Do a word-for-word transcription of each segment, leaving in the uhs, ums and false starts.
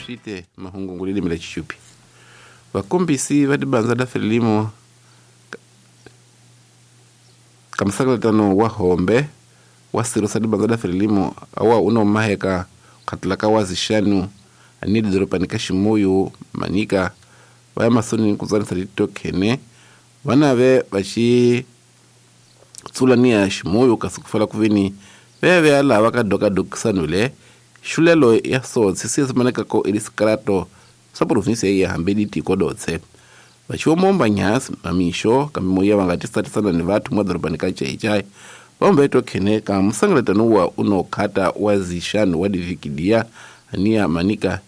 Swite mahungu lilimi la Chichupi. Vakombisi va dibanza da Frelimo kamsakalatano wa hombe wa siro sa dibanza da Frelimo awa uno maheka katlaka wa zishanu anidi doropani Kashimuyu Manika vaya masoni kuzanisa litokene vanave vachi tsulania Shimuyu kasukufala kuvini veve ala vakadoka dokisanule shulelo ya sotsi sisimaneka ko ilisikarato sa provinsia ya hambedi tiko dotse vachiomomba nyasi mamisho kamimoya vangatisatisana ni vathu mwa doropani ka Chaichai vambeto khene ka musangalatano wa unokhata wa zishanu wa divikidia ania Manika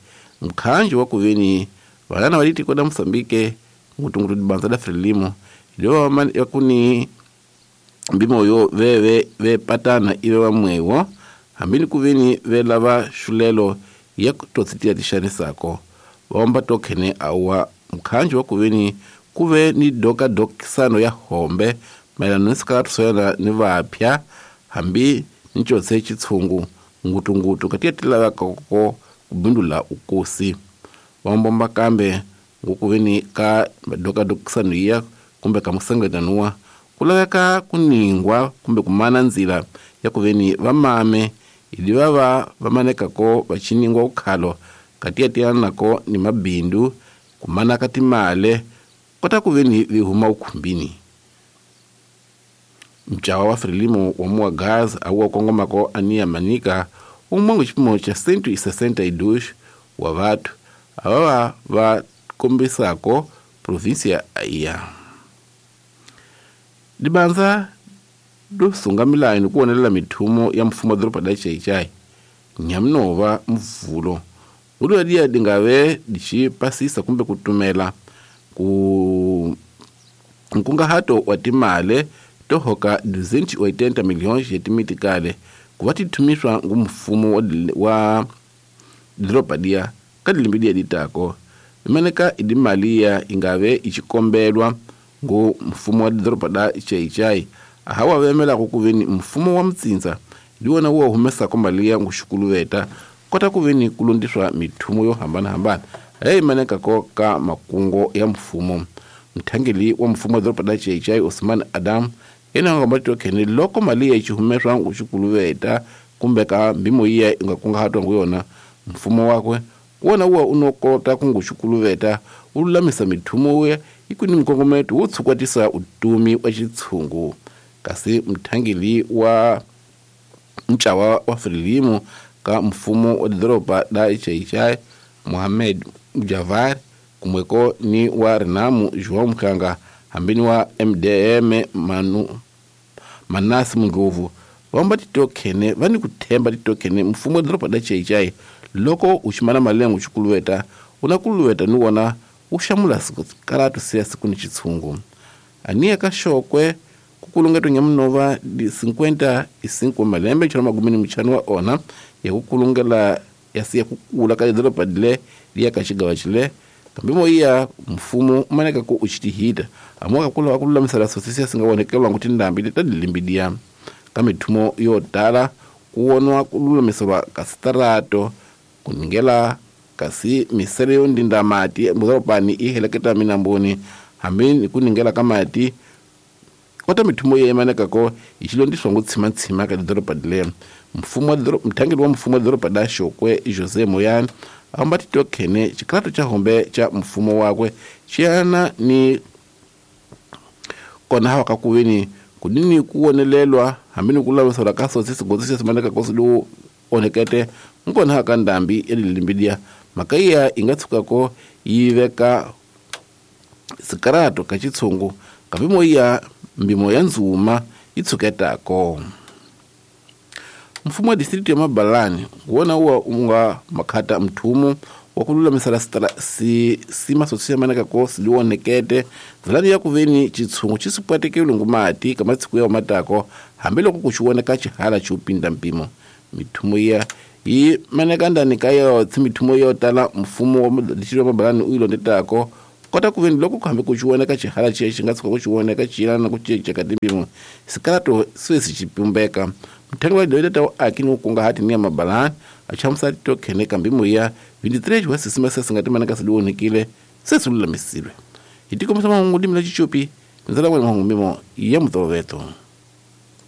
mkhanji wa kuveni valana valitiko da Mosambike ngutungutu dibanza da Frelimo iliwa yakuni mbimoyo veve vepatana ive vamwewo hambini kuveni velava shulelo ya totsitia tishanisako vaomba tokhene awa mkhanji wa kuveni kuve ni doka dokisano ya hombe maelano nisikalatuswela ni vapya hambi nichotse chitsungu ngutungutu katia tilavakako kubindula ukosi vaombomba kambe ngukuveni ka doka dokisano iya kumbe kamusangatanua kulaveka kuningwa kumbe kumana nzila ya kuveni vamame ili vava vamanekako vachiningwa ukhalo katia tiyanako ni mabindu kumana katimale kota kuveni vihuma ukhumbini. Mchawa wa Frelimo wa mua gaz au kongomako ania Manika umwangu chipimo cha sentu isesenta idush wa vatu awawa va kombisako provinsia iya. Dibanza dosunga milayo kuonelela mithumo ya mfumo wa doroba da Chaichai nyamnova mvulo uliwadia dingave dichipasisa kumbe kutumela ku nkungahato wa timale tohoka duzentos e oitenta milhões ya timitikale kuva tithumiswa ngu mfumo wa doroba dia kadilimbidia ditako imeneka idimaliya ingave ichikombelwa ngu mfumo wa doroba da Chaichai ahawa vemela kukuveni mfumo wa mtsinza ndiwona wo humesa kombalia nguxukuluveta kota kuveni kulundiswa mithumo yo hambana-hambana hey maneka ko ka makungo ya mfumo. Mthangeli wa mfumo wa doroba da Chaichai Osman Adam yena nga tokhene loko mali ya ichihumeswa nguxukuluveta kumbe ka mbimo iya ingakungahatwa nguyona mfumo wakwe wona uwa unokota kunguxukuluveta ululamisa mithumo uya ikuni mkongometo wo tshukwatisa utumi wa xitshungu. Kasi mthangeli wa mchawa wa Frelimo ka mfumo wa doroba da Chaichai Mohamed Javar kumweko ni wa Renamu João Mkhanga hambini wa M D M Manu Manasi Mngovu vamba titokhene vani kuthemba titokhene mfumo wa doroba da Chaichai loko uximana malengo xikuluweta unakuluweta ni wona uxamula sikaratu siya siku ni xitshungu ania ka xokwe kukulungeto nyamunova di cinquenta e cinco malembe chona magumini mchanu wa ona ya kukulungela ya siya kukula ka doroba dile liya ka xigawa xile kambimo iya mfumo umaneka ku uchitihita amoka kula wakululamisela sosisi singawonekelwa nguti ndambi tadilimbidia ka mithumo yo tala kuwonwa kululamiselwa ka sitarato kuningela kasi misele yo ndinda mati mudorobani iheleketa minamboni hambi ni kuningela ka mati kota mithumo ye imanekako ichilondiswa ngutshimatshima ka doroba dile mfumo mthangeli wa mfumo wa doroba da Xokwe Jose Moyane amba titokhene xikrato cha hombe cha mfumo wakwe xiyana ni kona hawa ka kuveni kudini kuwonelelwa hambi ni kulamisela ka sotsi sigotsi xesimaneka kosi lowu onekete nkona haka ndambi ya lilimbidia mhaka iya inga tshukako yi veka sikarato ka xitshungu kambimo iya mbimo ya ndzuma yi tshuketako. Mfumo wa district ya Mabalani wona uwa unga makhata mthumo wa kululamisela si sima sosiamaneka kosi liwonekete nzilani ya kuveni chitshungu chisipwatekele ngumati ka matsiku ya matako hambiloko kuxiwoneka xihala xiupinda mpimo mithumo ya yi maneka ndani ka yo mithumo yo tala mfumo wa district ya Mabalani u yilondetako kota kuveni loko kuhambe kuxiwoneka xihala xi xi nga tshuka kuxiwoneka xiyelana na ku cinca ka timpimo sikalato sweswi xipumbeka Mthengo wa dawida ta aki ni kungahati ni ya mabalani achamusa to kheneka mbimo ya vinte e três wa sisima sese nga timana kasi liwonekile se sululamisilwe hi tikombisa mahungu dimi la chichupi ndzela n'wene mahungu mimo ya mutoloveto.